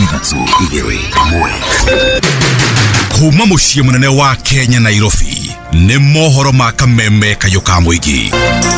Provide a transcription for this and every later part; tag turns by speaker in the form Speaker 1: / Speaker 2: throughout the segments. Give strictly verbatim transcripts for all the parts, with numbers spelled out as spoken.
Speaker 1: Ithatũ, igĩrĩ, ĩmwe.
Speaker 2: Kuma mũciĩ mũnene wa Kenya Nairobi nĩ mohoro ma kameme kayũ ka mũingĩ.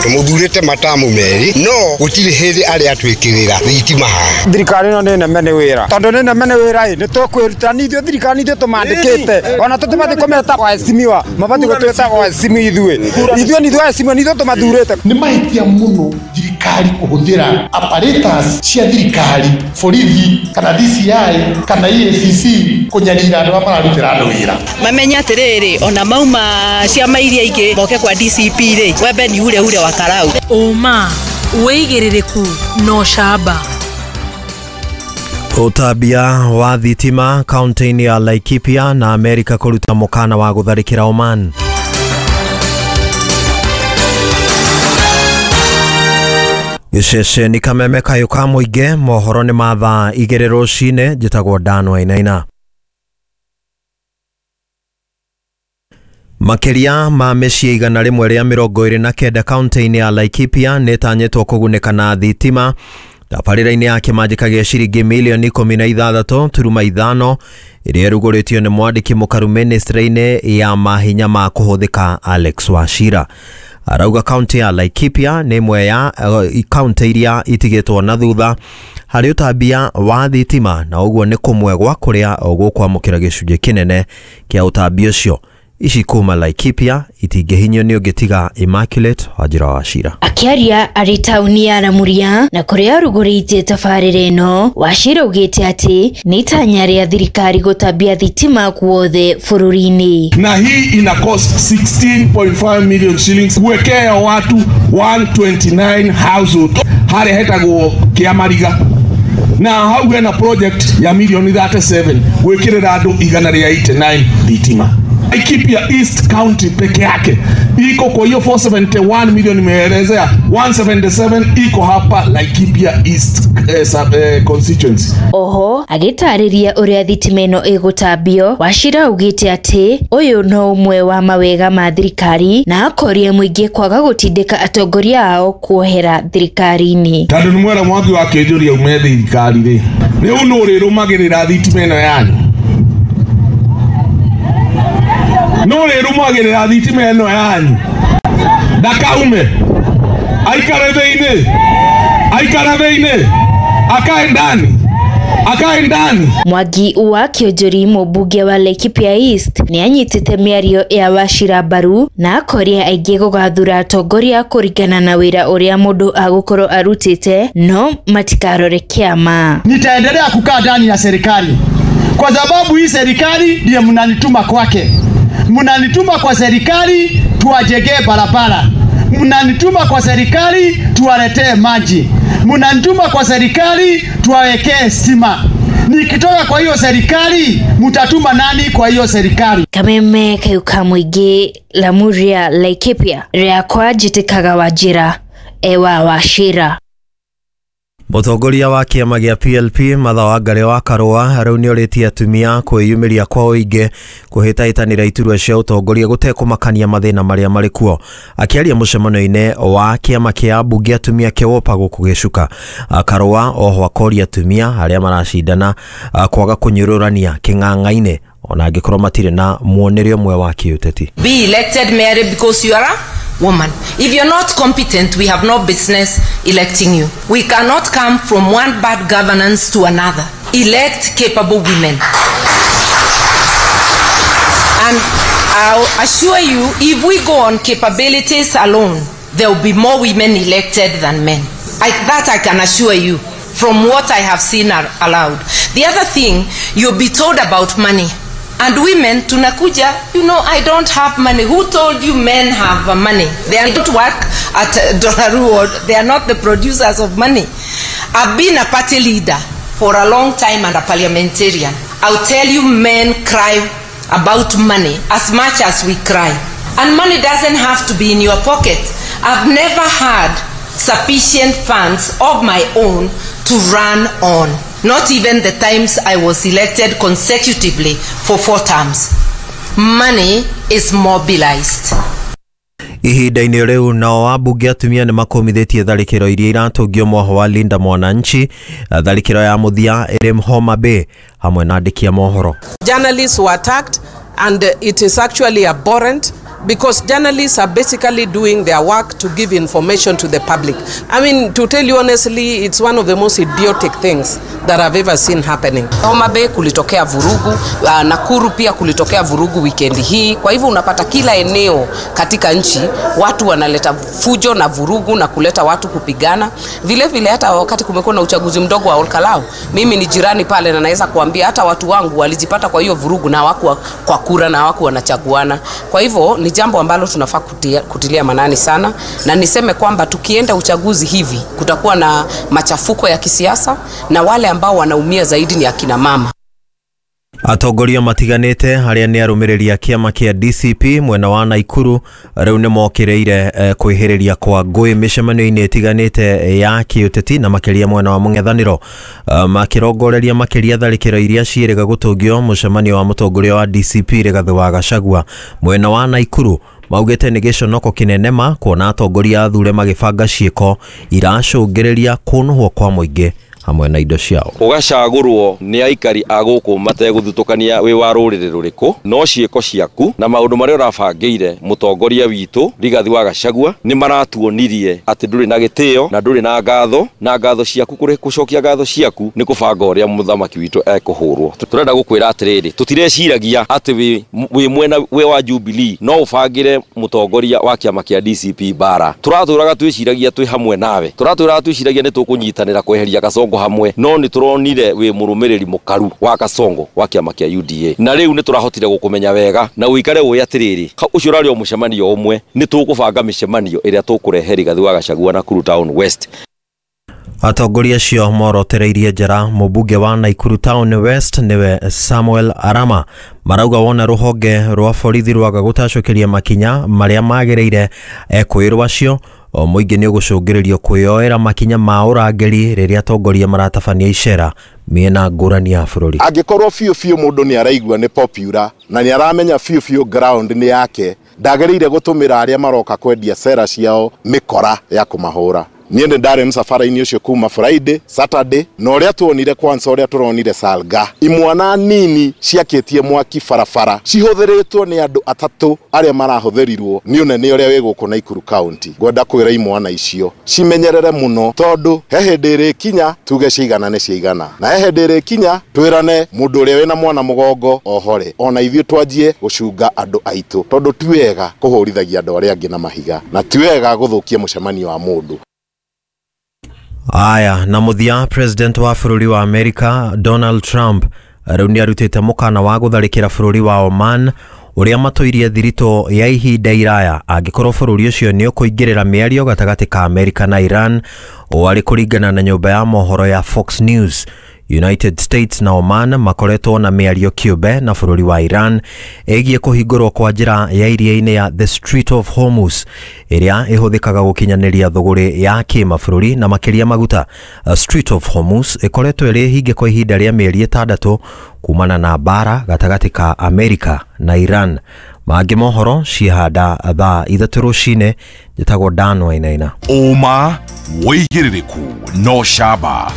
Speaker 3: Tũmũthurĩte matamu merĩ no gũtirĩ hĩndĩ arĩa atwĩkĩrĩra thitima haha.
Speaker 4: Thirikari ĩno nĩ neme nĩ wĩra, tondũ nĩ neme nĩ wĩra ĩ nĩ tũkwĩruta ithuĩ thirikari ithuĩ tũmandĩkĩte ona tũtibatiĩ kũmeta waheshimiwa, mabatiĩ gũtwĩta waheshimiwa ithuĩ ithuĩ nĩ ithuĩ waheshimiwa nĩ ithuĩ tũmathurĩte.
Speaker 5: Nĩ mahĩtia mũno thirikari kũhũthĩra apparatus cia thirikari, borithi kana D C I kana E A C C kũnyarira andũ arĩa mararutĩra andũ wĩra.
Speaker 6: Mamenye atĩrĩrĩ ona mauma ciama iria ingĩ moke kwa D C P rĩ, wembe ni ure ure wa karau.
Speaker 7: Ũma wĩigĩrĩrĩku no camba.
Speaker 8: Ũtambia wa thitima kaunti-inĩ ya Laikipia na Amerika kũruta mũkana wa gũtharĩkĩra Oman. Gĩceceni kameme kayũ ka mũingĩ, mohoro nĩ ma thaa igĩrĩ rũcinĩ. Njĩtagwo Dan Wainaina. Makĩria ma mĩciĩ igana rĩmwe rĩa mĩrongo ĩrĩ na kenda kaunti-inĩ ya Laikipia nĩtanyĩtwo kũgunĩka na thitima tabarĩra-inĩ ya kĩmanjĩka gĩa ciringi milioni ikũmi na ithathatũ turuma ithano ĩrĩa ĩrugũrĩtio nĩ mwandĩki mũkaru ministry-inĩ ya mahinya ma kũhũthĩka Alex Wachira. Arauga kaunti ya Laikipia nĩ ĩmwe ya kaunti iria itigĩtwo na thutha harĩ ũtambia wa thitima na ũguo nĩ kũmwe gwa kũrĩa gũkwamũkĩra gĩcunjĩ kĩnene kĩa ũtambia ũcio. Ici kuma Laikipia itingĩhinyio nĩ ũngĩ tiga Immaculate Wanjira Wachira.
Speaker 9: Akĩaria arĩ taũni ya Lamuria na kũrĩa arugũrĩtie tabarĩra ĩno, Wachira augĩte atĩ nĩ itanya rĩa thirikari gũtambia thitima guothe bũrũri-inĩ.
Speaker 10: Na hii ina cost sixteen point five million shillings kuwekea watu one twenty-nine household harĩa hetagwo Kĩamariga, na hau hena project ya milioni thirty-seven gwĩkĩrĩra andũ igana rĩa eighty-nine thitima. Laikipia East County peke yake iko kwa hiyo four seventy-one million nimeelezea, one seventy-seven iko hapa Laikipia East eh, sub, eh, constituency.
Speaker 9: Oho agĩtarĩria ũrĩa thitima ĩno ĩgũtambio, Wachira augĩte atĩ ũyũ no ũmwe wa mawega ma thirikari na akoria mũingĩ kwaga gũtindĩka atongoria ao kuohera thirikari-inĩ.
Speaker 10: Tondũ nĩ mwera Mwangi wa Kĩnjũria ume thirikari rĩ, rĩu nũ ũrĩrũmagĩrĩra thitima ĩno yanyu? No rĩrũmagĩrĩra thitima ĩno yanyu ndakaume, aikare thĩinĩ, aikare thĩinĩ, akae ndani, akae ndani.
Speaker 9: Mwangi wa Kĩonjori mũmbunge wa Laikipia East nĩ anyitĩte mĩario ya Wachira mbaru na akoria aingĩ gũgathura atongoria kũringana na wĩra ũrĩa mũndũ agũkorwo arutĩte no matikarore kĩama.
Speaker 11: Nitaendelea kukaa ndani ya serikali kwa sababu hii serikali ndiye mnanituma kwake. Mnanituma kwa serikali tuwajengee barabara, mnanituma kwa serikali tuwaletee maji, mnanituma kwa serikali tuwawekee stima. Nikitoka kwa hiyo serikali mtatuma nani kwa hiyo serikali?
Speaker 9: Kameme kayũ ka mũingĩ, Lamuria, Laikipia, rĩakwa njĩtĩkaga Wanjira Ewa Wachira.
Speaker 8: Mũtongoria wa kĩama gĩa P L P Martha Wangari wa Karũa rĩu nĩorĩtie atumia kwĩyumĩria kwa ũingĩ kũhĩtahĩtanĩra iturwa cia ũtongoria gũtekũmakania mathĩna marĩa marĩ kuo. Akĩaria mũcemanio-inĩ wa kĩama kĩa mbunge atumia kĩwopa gũkũ Gĩcuka, Karũa oho akoria atumia arĩa maracindana kwaga kũnyũrũrania kĩng'ang'a-inĩ ona angĩkorwo matirĩ na muonere ũmwe wa kĩũteti.
Speaker 12: Be elected Mary because you are a woman. If you're not competent, we have no business electing you. We cannot come from one bad governance to another. Elect capable women. And I'll assure you, if we go on capabilities alone, there will be more women elected than men. I, that I can assure you from what I have seen are allowed. The other thing, you'll be told about money. And women, tunakuja, you know, I don't have money. Who told you men have money? They don't work at Dolaru, or they are not the producers of money. I've been a party leader for a long time and a parliamentarian. I'll tell you, men cry about money as much as we cry. And money doesn't have to be in your pocket. I've never had sufficient funds of my own to run on. Not even the times I was elected consecutively for four terms. Money is mobilized.
Speaker 8: Ihinda-inĩ rĩu nao ambunge atumia nĩ makũmithĩtie tharĩkĩro iria iratũngio mwaho wa Linda Mwananchi, tharĩkĩro ya mũthia ĩrĩ Homa Bay hamwe na andĩki a mohoro.
Speaker 13: Journalists were attacked and it is actually abhorrent because journalists are basically doing their work to give information to the public. I mean, to tell you honestly, it's one of the most idiotic things that I've ever seen happening.
Speaker 12: Homa Bay kulitokea vurugu, Nakuru pia kulitokea vurugu weekend hii. Kwa hivyo unapata kila eneo katika nchi watu wanaleta fujo na vurugu na kuleta watu kupigana. Vile vile hata wakati kumekuwa na uchaguzi mdogo wa Olkalau, mimi ni jirani pale na naweza kuambia hata watu wangu walijipata kwa hiyo vurugu na hawakuwa kwa kura na hawakuwa wanachaguana. Kwa hivyo ni jambo ambalo tunafaa kutia, kutilia manani sana, na niseme kwamba tukienda uchaguzi hivi kutakuwa na machafuko ya kisiasa na wale ambao wanaumia zaidi ni akina mama.
Speaker 8: Atongoria matiganĩte arĩa nĩ arũmĩrĩri a kĩama kĩa D C P mwena wa Naikuru rĩu nĩ mokĩrĩire eh, kwĩhĩrĩria kwa ngũĩ mĩcemanio-inĩ ĩtiganĩte ya kĩũteti na makĩria mwena wa mũng'ethanĩro, uh, makĩrongoreria makĩria tharĩkĩro iria ciĩrĩga gũtũngio mũcemanio wa mũtongoria wa D C P Rigathĩ wa Gachagua mwena wa Naikuru. Maugĩte nĩ gĩconoko kĩnene ma kuona atongoria athure magĩbanga ciĩko iracũngĩrĩria kũnũhwo kwa mũingĩ hamwe na indo ciao.
Speaker 14: Ũgacagũrwo nĩ aikari a gũkũ mategũthutũkania wĩ wa rũrĩrĩ rũrĩkũ, no ciĩko ciaku na maũndũ marĩa ũrabangĩire mũtongoria witũ Rigathĩ wa Gachagua nĩ maratuonirie atĩ ndũrĩ na gĩtĩo na ndũrĩ na ngatho, na ngatho ciaku kũrĩ gũcokia ngatho ciaku nĩ kũbanga ũrĩa mũthamaki witũ ekũhũrwo. Tũrenda gũkwĩra atĩrĩrĩ, tũtireciragia atĩ wĩ mwena wĩ wa Jubilee no ũbangĩre mũtongoria wa kĩama kĩa D C P bara. Tũratũraga twĩciragia twĩ hamwe nawe, tũratũraga twĩciragia nĩ tũkũnyitanĩra kweheria Kasongo hamwe, no nĩ tũronire wĩ mũrũmĩrĩri mũkaru wa Kasongo wa kĩama kĩa U D A, na rĩu nĩ tũrahotire gũkũmenya wega na ũikare ũĩ atĩrĩrĩ, ũcio ũrarĩ o mũcemanio ũmwe, nĩ tũkũbanga mĩcemanio ĩrĩa tũkũrehe Rigathĩ wa Gachagua Nakuru Town West.
Speaker 8: Atongoria acio morotereirie njara mũmbunge wa Nakuru Town West nĩwe Samuel Arama marauga wona rũhonge rwa borithi rwaga gũtacũkĩria makinya marĩa magĩrĩire ekwĩrwo acio o mũingĩ nĩ ũgũcũngĩrĩrio kwĩyoera makinya ma ũrangĩri rĩrĩa atongoria maratabania icera mĩena ngũrani ya bũrũri.
Speaker 15: Angĩkorwo biũ biũ mũndũ nĩ araigua nĩ popular na nĩ aramenya biũ biũ ground nĩ yake, ndagĩrĩire gũtũmĩra arĩa maroka kwendia sera ciao mĩkora ya kũmahũra. Niĩ nĩ ndarĩ mũcabara-inĩ ũcio kuma Friday, Saturday, na ũrĩa tuonire kwanza ũrĩa tũronire Salga. Imwana nini ciakĩtie mwaki barabara cihũthĩrĩtwo nĩ andũ atatũ arĩa marahũthĩrirwo nĩ ũnene ũrĩa wĩ gũkũ Nakuru County. Ngwenda kwĩra imwana icio cimenyerere mũno, tondũ he hĩndĩ ĩrĩkinya tuge ciigana nĩ ciigana, na he hĩndĩ ĩrĩkinya twĩrane mũndũ ũrĩa wĩna mwana mũgongo ohore, ona ithuĩ twanjie gũcunga andũ aitũ, tondũ ti wega kũhũrithagia andũ arĩa angĩ na mahiga, na ti wega gũthũkia mũcemanio wa mũndũ.
Speaker 8: Aya, na mũthia president wa bũrũri wa America Donald Trump rĩu nĩ arutĩte mũkana wa gũtharĩkĩra bũrũri wa Oman ũrĩa matũirie thiritũ ya ihinda iraya angĩkorwo bũrũri ũcio nĩ ũkũingĩrĩra mĩario gatagatĩ ka America na Iran, o arĩ kũringana na nyũmba ya mohoro ya Fox News. United States na Oman makoretwo na mĩario kĩũmbe na bũrũri wa Iran ĩgiĩ kũhingũrwo kwa njĩra ya iria-inĩ ya the Strait of Hormuz ĩrĩa ĩhũthĩkaga gũkinyanĩria thũgũrĩ ya kĩmabũrũri na makĩria maguta. Strait of Hormuz ĩkoretwo ĩrĩ hinge kwa ihinda rĩa mĩeri ĩtandatũ kumana na mbara gatagatĩ ka Amerika na Iran. Mangĩ mohoro cihanda thaa ithatũ rũcinĩ. Njĩtagwo Dan Wainaina.
Speaker 2: Ũma wĩigĩrĩrĩku no camba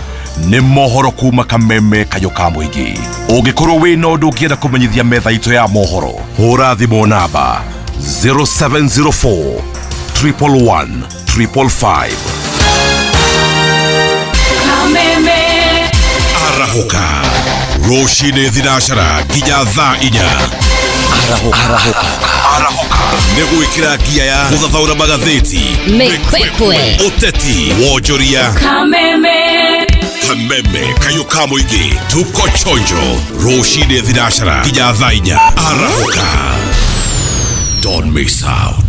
Speaker 2: nĩ mohoro kuma kameme kayo ka mũingĩ. Ũngĩkorwo wĩna ũndũ ũngĩenda kũmenyithia metha itũ ya mohoro, hũra thimũ namba zero seven zero four triple one triple five.
Speaker 7: Kameme
Speaker 2: arahũka rũcinĩ thinacara nginya thaa inya. Arahũka arahũka nĩ gwĩkĩra ngia ya gũthathaũra magathĩti,
Speaker 7: mĩkwekwe,
Speaker 2: ũteti, wonjoria.
Speaker 7: Kameme
Speaker 2: Kameme kayo ka mũingĩ, tuko chonjo rũcinĩ thinacara nginya thaa inya. Arahũka, don't miss out.